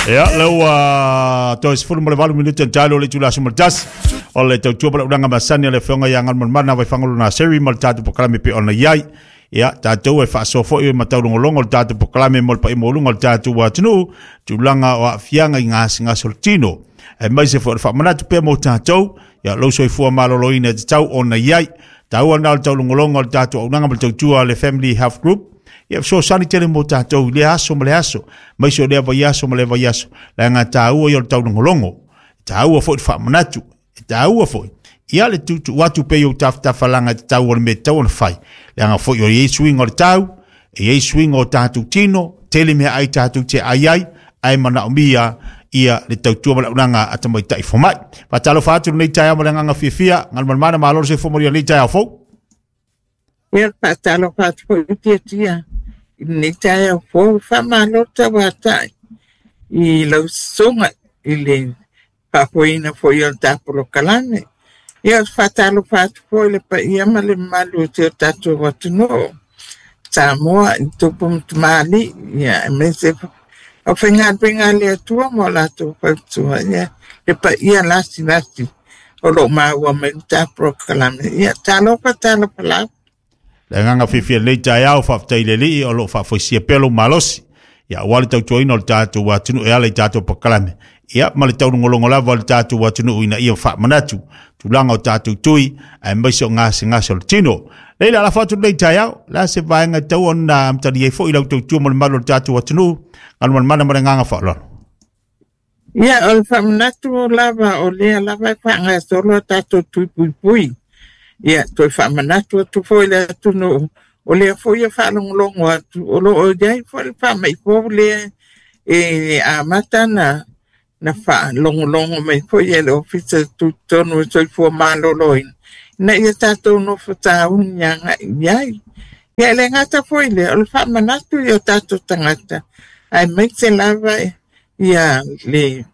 Ia, lea ua toe 18 minute na talu o le itula 11 o le tautua ma le auaunaga masani a le Afioga ia Galumalemana Vaifagaloa Naseri ma le tatou polokalame pei ona i ai. Ia, tatou e faasoa foi ma taulogologo le tatou polokalame mo le paia maualuga o le tatou atunuu, tulaga o aafiaga i gasegase o le tino. Aemaise foi o le faamanatu pea mo tatou, ia lou soifua maloloina e tatau ona i ai. Taua lena o le taulogologo o le tatou auaunaga ma le tautua a le Family Health Group, ia fesoasoani tele mo tatou i lea aso ma le aso, aemaise o lea vaiaso ma lea vaiaso, leaga e taua ia o le taulogologo, e taua foi le faamanatu, e taua foi ia le tuutuu atu pea i ou tafatafa laga e tatau o le mea e tatau ona fai, leaga foi o i ai suiga o le tau, e i ai suiga o tatou tino, tele mea ai tatou te ai ai, ae manaomia ia le tautua ma le auaunaga a tamaitai fomai. Faatalofa atu lenei taeao ma le agaga fiafia, Galumalemana malo le soifua manuia i lenei taeao fou. Ia, faatalofa atu foi i Tiatia i lenei taeao fou. Faamalo tauatai i lau susuga i le faafoeina foi o le ta polokalame. Ia, faatalofa atu foi i le paia ma le mamalu o si o tatou atunuu Samoa i tupu ma tamalii, ia, aemaise aufaigaluega a le Atua ma o latou fautua, ia, le paia lasilasi o lo o maua mai le ta polokalame. Ia, talofa, talofa lava. Le agaga fiafia lenei taeao, faafetai i le Alii o lo o faafoisia pea lou malosi, ia aua le tautuaina o le tatou atunuu e ala i tatou polokalame, ia ma le taulogologo lava o le tatou atunuu ina ia faamanatu tulaga o tatou tui aemaise o gasegase o le tino. Leila, lafo atu lenei taeao, la se vaega e tatau ona amatalia ai foi lau tautua mo le mamalu o le tatou atunuu, Galumalemana ma le agaga faaaloalo. Ia, o le faamanatu lava o lea lava e faagasolo a tatou tui puipui. Ia, toe faamanatu atu foi i le atunuu, o lea foi e faalogologo atu, o lo o i ai foi le faamai fou lea e amata na faalogologo mai foi e le Ofisa Tutotonu o le Soifua Maloloina, ina ia tatou nofo tauni agai i ai. Ia, e le gata foi lea, o le faamanatu i o tatou tagata, aemaise lava ia le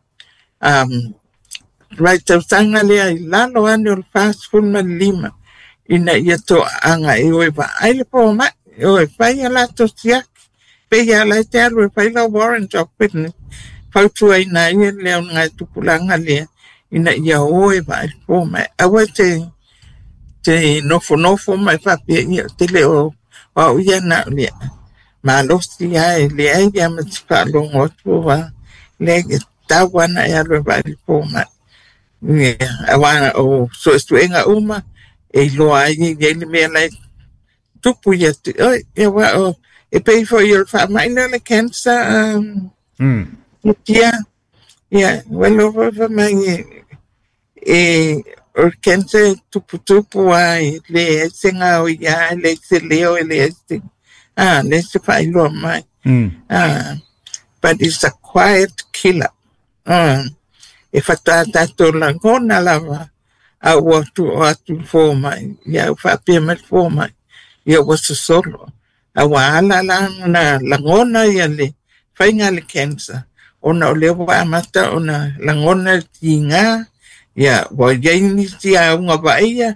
vaitausaga lea i lalo ane o le 45 ina ia toaaga e o e vaai le fomai, e o e fai a latou siaki. Pei lava la e te alu e fai lau warrant of fitness, fautuaina ai e le augatupulaga lea ina ia o e vaai le fomai. Aua te te nofonofo ma e faapea, ia, te le o au ia na o le malosi lava e leai lava ma se faalogo atu a leai, e tatau lava ona e alu e vaai le fomai. Ia, aua o suesuega uma e iloa ai e i ai le mea la e tupu ia te oe. Ia, aua o e pei foi o le faamai lea o le cancer, ia, ia, ua iloa foi fai mai e o le cancer e tuputupu lava e leai se gaoia, e leai se leo, e leai se, leai se faailoa mai. But it's a quiet killer. E faatoa tatou lagona lava a ua tuu atu le fomai, ia ua faapea mai le fomai, ia ua sosolo. A ua ala la ona lagona ia le faiga le cancer, ona o lea ua amata ona lagona le tiga, ia ua i ai nisi auga vaaia,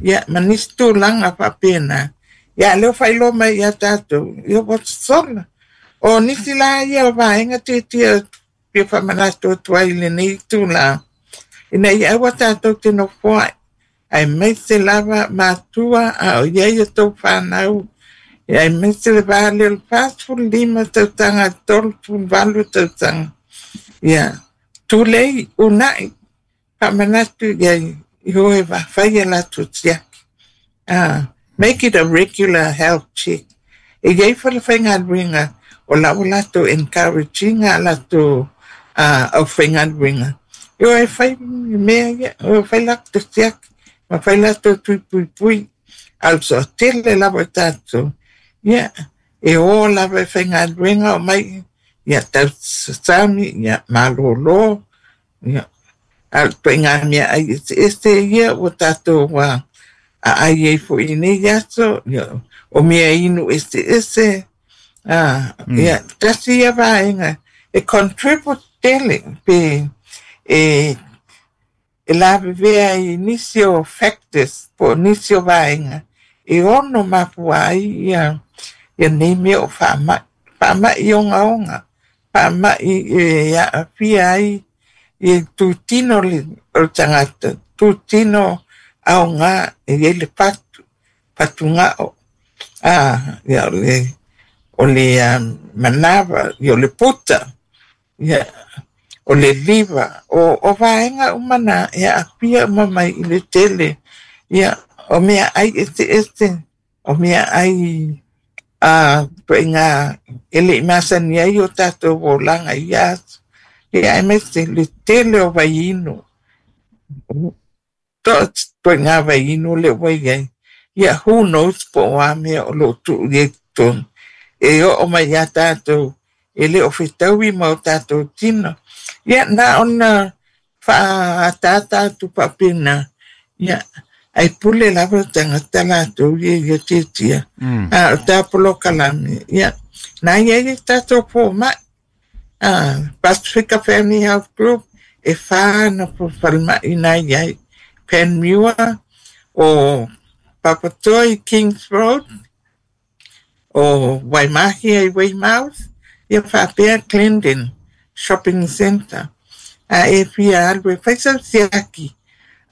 ia ma nisi tulaga faapena. Ia, lea ua faailoa mai ia tatou, ia ua sosola. O nisi la ia o vaega tiatia fia faamanatu atu ai i lenei tula, ina ia aua tatou te nofoai, aemaise lava matua a o i ai a tou fanau, aemaise le va lea o le 45 tausaga, 38 tausaga. Ia, tulei, unai, faamanatu i ai, i o e fai a latou siaki. Make it a regular health check. E i ai foi le faigaluega o la ua latou encourage ina a latou aufaigaluega. E o e fai mea ia, o e fai latou siaki, ma fai latou tui puipui. A o le toatele lava o tatou, ia, e o lava e faigaluega o mai, ia tausasami, ia malolo, ia, a o le ituaiga meaai eseese ia ua tatou aai ai foi i nei aso, ia, o mea inu eseese, ia, tasi ia vaega e contribute tele pe e lavevea i nisi o factors po o nisi o vaega e ono mafua ai ia nei mea o faamai, faamai ogaoga. Faama'i e aafia ai i itutino o le tagata, itutino aoga e i ai le fatu, fatugao, ia o le manava, ia o le puta, ia o le liva, o vaega uma na e aafia uma mai i le tele, ia o meaai eseese, o meaai ituaiga e le i masani ai o tatou olaga i ia aso. Ia aemaise le tele o vaiinu. Ituaiga vaiinu lea ua i ai. Ia who knows po o a mea o lo o tuu i ai i totonu. E oo mai ia tatou e le o fetaui ma o tatou tino. Ia na ona faaataata atu faapena. Ia ae pule lava le tagata latou ia ia tiatia. A o ta polokalame, ia na i ai tatou fomai. Pasifika Family Health Group e 4 na falemai na i ai. Panmure, o Papatoetoe Kings Road, o Waimahia i Weymouth, ia faapea Glendon Shopping Centre. A e fia alu e fai sau siaki,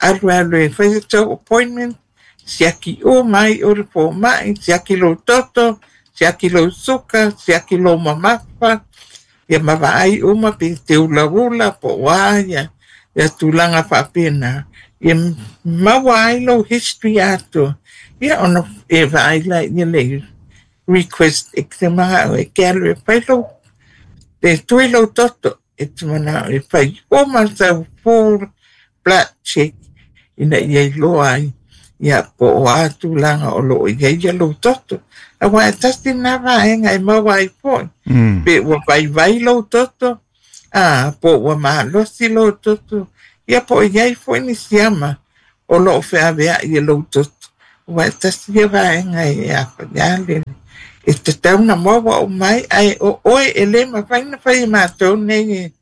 alu alu e fai sau appointment, siaki uma ai o le fomai, siaki lou toto, siaki lou suka, siaki lou mamafa, ia ma vaai uma pe te ulaula po o a ia, ia tulaga faapena. Ia maua ai lou history atoa. Ia ona e vaai la ia le request e te manao e ke alu e fai lou, e tui lou toto, e te manao e fai uma sau full blood check ina ia iloa ai ia po o a tulaga o lo o i ai ia lou toto. Aua e tasi na vaega e maua ai foi. Pe ua vaivai lou toto, po ua malosi lou toto, ia po o i ai foi ni siama o lo o feaveai e lou toto. Aua e tasi ia vaega e afaia le e tatau na maua o mai, ae o oe e le mafai na fai e matou nei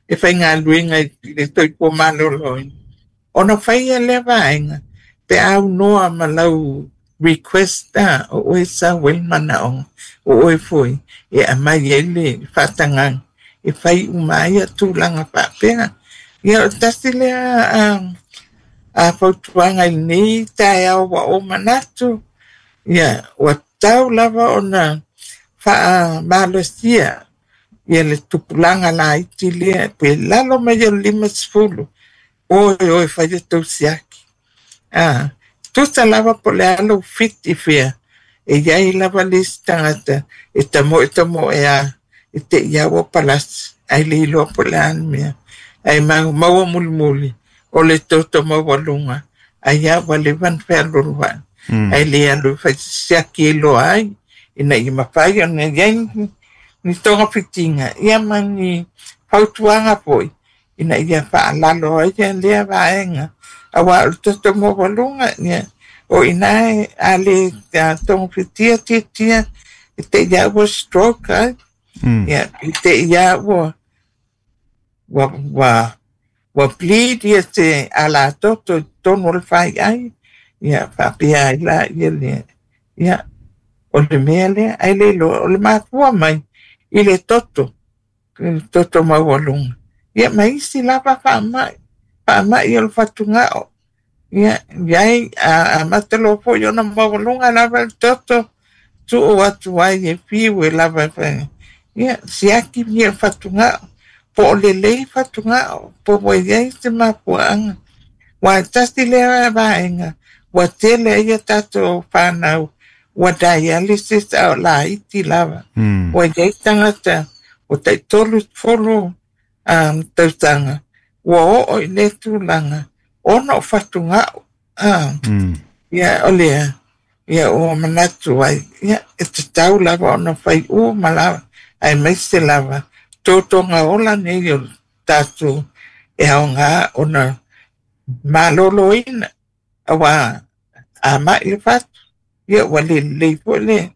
e faigaluega i le soifua maloloina. Ona faia lea vaega pe aunoa ma lau request o oe sau ai le manaoga, o oe foi e aumai ai le faatagaga e fai uma ai ia tulaga faapea. Ia o tasi lea a fautuaga i lenei taeao ua ou manatu, ia ua tatau lava ona faamalosia ia le tupulaga laiti lea pe lalo mai o le 50 oe oe fai le tou siaki. Tusa lava po o le a lou fiti fea, e i ai lava le isi tagata e tamoe tamoe a e te i ua palasi ai le iloa po o le a le mea. Ae maua mulimuli o le toto maualuga ai a ua leva ona fealualuai. Ai le alu e fai siaki e iloa ai ina ia mafai ona i ai ni togafitiga ia ma ni fautuaga foi ina ia faalalo ai ia lea vaega. Aua o le toto maualuga ia o ina e a le togafitia tiatia e te ia ua stroke ai. Ia i te ia ua ua bleed ia te ala toto i totonu o le faiai. Ia faapea ai la ia lea. Ia o le mea lea ai le iloa o le mafua mai i le toto, le toto maualuga. Ia ma isi lava faamai, faamai o le fatugao. Ia iai a amata loa foi ona maualuga lava le toto, tuu atu ai e fiu e lava e fai. Ia siaki ia fatugao, po o lelei fatugao, po ua i ai se mafuaaga. Ua tasi lea vaega, ua tele ai ia tatou whanau, ua dialysis a o laiti lava. Ua i ai tagata o tai 30 tausaga, ua oo i le tulaga ona o fatugao. Ia o lea, ia ua manatu ai, ia e tatau lava ona fai uma lava, aemaise lava totoga ola nei o tatou e aoga ona maloloina. Aua a mai le fatu, ia ua le lelei foi le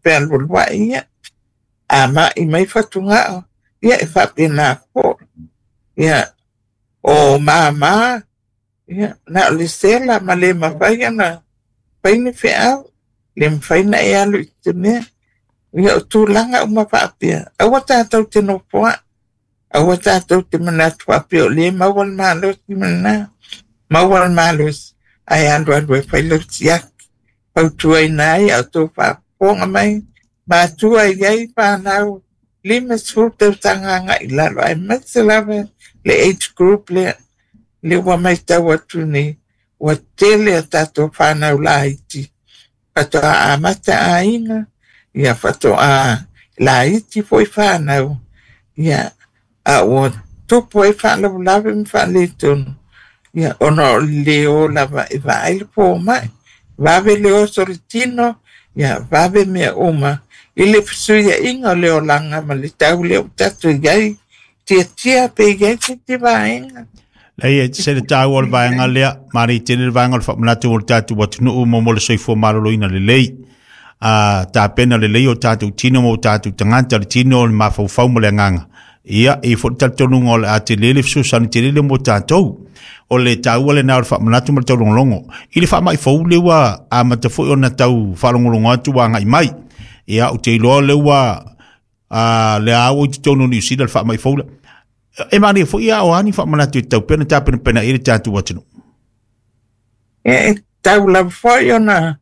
fealualuai ia. A mai mai fatugao, ia e faapena foi. Ia o mama, ia na o le sela ma le mafai ona fai ni feau, le mafai na e alu i te mea. Ia o tulaga uma faapea, aua tatou te nofoa'i, aua tatou te manatu faapea o lea e maua le malosi ma lena, maua le malosi ae alualu e fai lau siaki. Fautuaina ai a outou faafofoga mai, matua e i ai fanau 50 tausaga agai i lalo, aemaise lava le age group lea, lea ua matau atu nei, ua tele a tatou fanau laiti faatoa amata aiga, ia faatoa laiti foi fanau, ia a ua tupu ai faalavelave ma faaletonu, ia ona o le le o lava e vaai le fomai, vave le oso le tino, ia vave mea uma i le fesuiaiga o le olaga ma le tau lea ua tatou i ai, tiatia pe i ai se isi vaega. Leai, e se le taua o le vaega lea, manaia tele le vaega o le faamanatu o le tatou atunuu mo mo le soifua maloloina lelei. A tapena lelei o tatou tino ma o tatou tagata, le tino, le mafaufau ma le agaga. Ia, e i ai foi le talitonuga o le a tele le fesoasoani tele lea mo tatou. O le taua lena o le faamanatu ma le taulogologo. I le faamai fou lea ua amata foi ona tau faalogologo atu ua agai mai. Ia, ou te iloa lea ua lea ua i totonu o Niu Sila le faamai fou lea. E manaia foi a o a ni faamanatu e tatau pea ona tapenapena i ai le tatou atunuu. E tau lava foi ona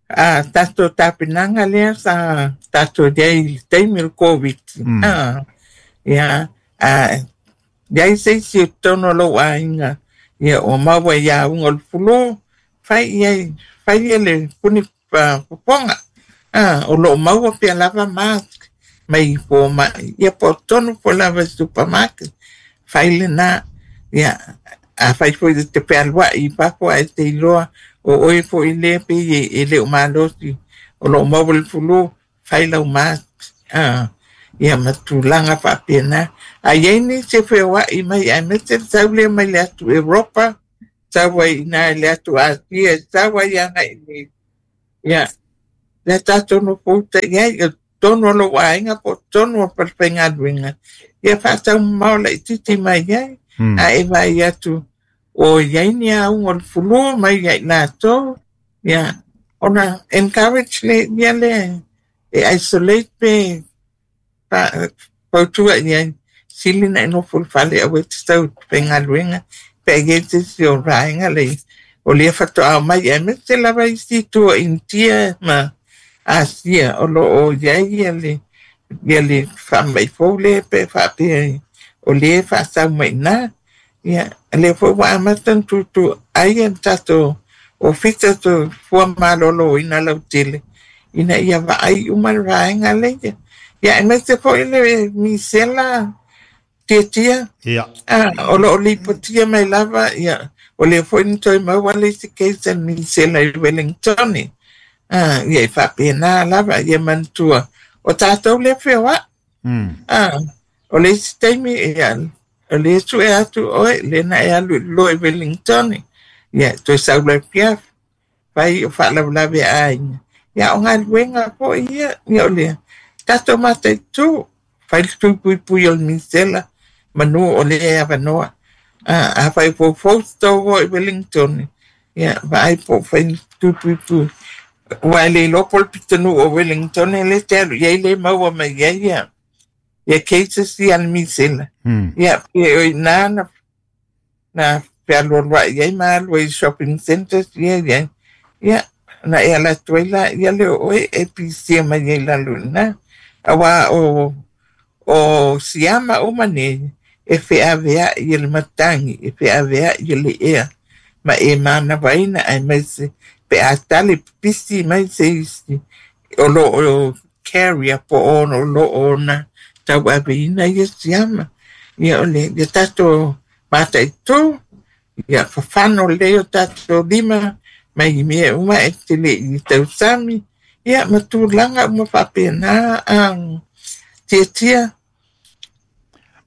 a tatou tapenaga lea sa tatou i ai i le taimi o le Covid. Ia, a i ai se isi o totonu o lou aiga, ia ua maua i auga o le flu, fai i ai, fai ia le puni fofoga. O lo o maua pea lava mask mai fomai, ia po o totonu foi lava i supermarket, fai lena. Ia, afai foi e te fealuai i fafo ae te iloa o oe foi lea pei e le o malosi o lo o maua le flu, fai lau mask. Ia ma tulaga faapena. A i ai nisi e feoai mai aemaise le sau lea mai le atu Europa, sau ai i ina i le atu Asia, sau ai agai i inei. Ia, lea tatou nofouta i ai, o totonu o lou aiga po o totonu o le falefaigaluega, ia faataumamao laitiiti mai ai. A e vaai atu o i ai ni auga o le flu mai ia i latou, ia, ona encourage le ia lea e isolate pe fautua i ai, sili na e nofo i le fale aua e te sau i te faigaluega pe a i ai se isi o vaega lea o lea faatoa omai aemaise lava isi itu o Initia ma Asia o lo o i ai ia le faamai fou lea pe faapea o lea e faasau mai i ina. Ia, lea foi ua amata ona tutu ai le tatou Ofisa Soifua Maloloina lautele ina ia vaai uma le vaega lea. Ia, aemaise foi le misela tiatia. Ia. O lo o lipotia mai lava, ia, o lea foi na toe maua le isi case a le misela i Wellington. Ia, e faapena lava, ia manatua, o tatou lea feoai. O le isi taimi, ia, o lea sue atu oe, lea na e alu i lalo i Wellington. Ia, toe sau loa i afiafi, fai o faalavelave aiga. Ia, o galuega foi ia, ia o lea, tatou mataitu, fai le tui puipui o le misela, manu o lea e avanoa. Afai o foufou se tou o i Wellington, ia, vaai po o fai le tui puipui. Ua e le iloa po o le pitonuu o Wellington lea e te alu i ai le maua mai ai ia, ia cases ia le misela. Ia, pe o i ina na, na fealualuai ai ma alu ai i shopping centres ia ia. Ia, na e ala atu ai la ia lea o oe e pisia mai ai lalo i ina. Aua o siama uma nei e feaveai e le matagi, e feaveai e le ea, ma e manavaina aemaise pe a tali pipisi mai se isi o lo o carrier po o lo o na tauaveina ia siama. Ia o le ia tatou mataitu, ia fafano lelei o tatou lima mai mea uma e te le i tausami, ia ma tulaga uma faapena tiatia.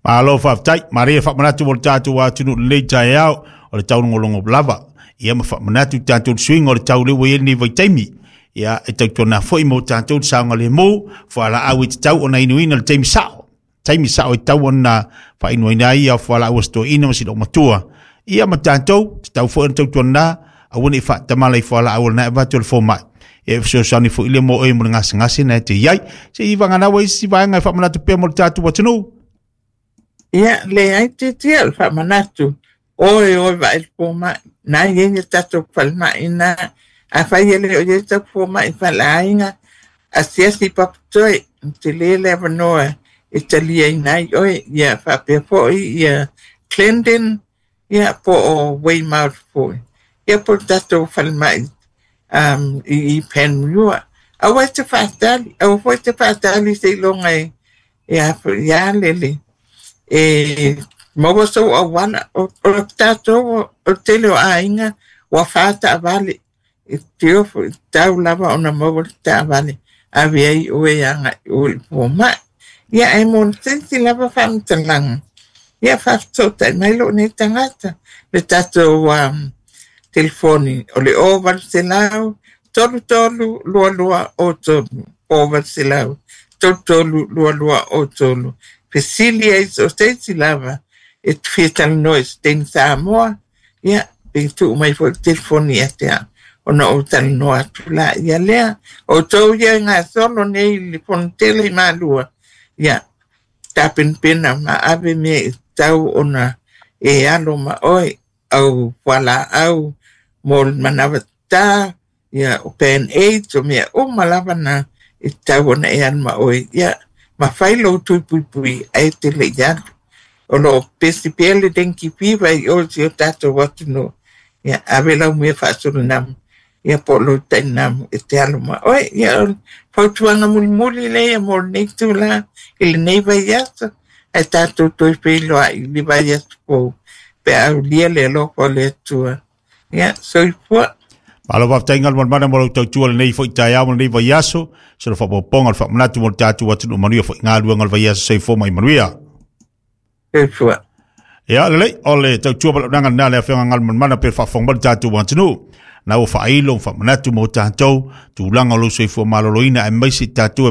Malo faafetai, maria faamanatu mo le tatou atunuu lenei taeao o le taulogologo lava. Ia ma faamanatu tatou le suiga o le tau lea ua i ai lenei vaitaimi. Ia e tautuana foi mo tatou le saogalemu, fualaau e tatau ona inuina i le taimi sao. Taimi sao e tatau ona faainuina ai ia fualaau a si toeaina ma si loomatua. Ia ma tatou, tatau foi ona tautuana aua ne i faatamala i fualaau o lena e avatu e le fomai. E fesoasoani foʻi le mo oe mo le gasegase na e te iai. Se i vaganaua isi vaega e faamanatu pea mo le tatou atunuu. Ia, leai titia o le faamanatu, oe oe vaai le fomai, na i ai le tatou falemai na, afai e le o i ai sau fomai faleaiga, asiasi i Papatoe, tele le avanoa e taliaina ai oe, ia faapea foi ia Clendon, ia po o Weymouth foi. Ia po o le tatou falemai i Panmure. Aua e te faatali, aua foi e te faatali seiloga e ia lele e maua sou auala. O le tatou, o le tele o aiga ua fa taavale, e teo foi tau lava ona maua le taavale ave ai oe agai o i le fomai. Ia ae mo le se isi lava faamatalaga, ia faafesootai mai lou nei tagata le tatou telefoni o le 0800 33 22 03, 0800 33 22 03. Fesili ai so o se isi lava e te fia talanoa i se teine Samoa, ia pe tuu mai foi le telefoni ia te au ona ou talanoa atu la ia lea. O outou ia e gasolo nei i le fonotele i Malua, ia tapenapena ma ave mea e tatau ona e alo ma oe, au fualaau mo le manawa tatā, ia o Band-Aids, o mea uma lava na e tatau ona e alu ma oe. Ia ma fai lou tui puipui ae te le i alu. O lo o pesi pea le dengue fever i o si o tatou atunuu. Ia ave lau mea faasolanamu, ia po o lou tainamu e te alu ma oe. Ia o le fautuaga mulimuli lea mo lenei itulā i lenei vaiaso, ae tatou toe feiloai i le vaiaso fou pe a aulia le alofa o le Atua. Ia, soifua. Malo faafetai Galumalemana mo lau tautua lenei foi taeao ma lenei vaiaso, se le faaopoopoga o le faamanatu mo le tatou atunuu. Manuia foi galuega o le vaiaso. Soifua ma ia manuia. Soifua. Ia lelei, o le tautua ma launaga lena le afioga Galumalemana pe faafofoga mai le tatou atunuu. Na ua faailo ma faamanatu mo tatou tulaga o lou soifua maloloina aemaise tatou.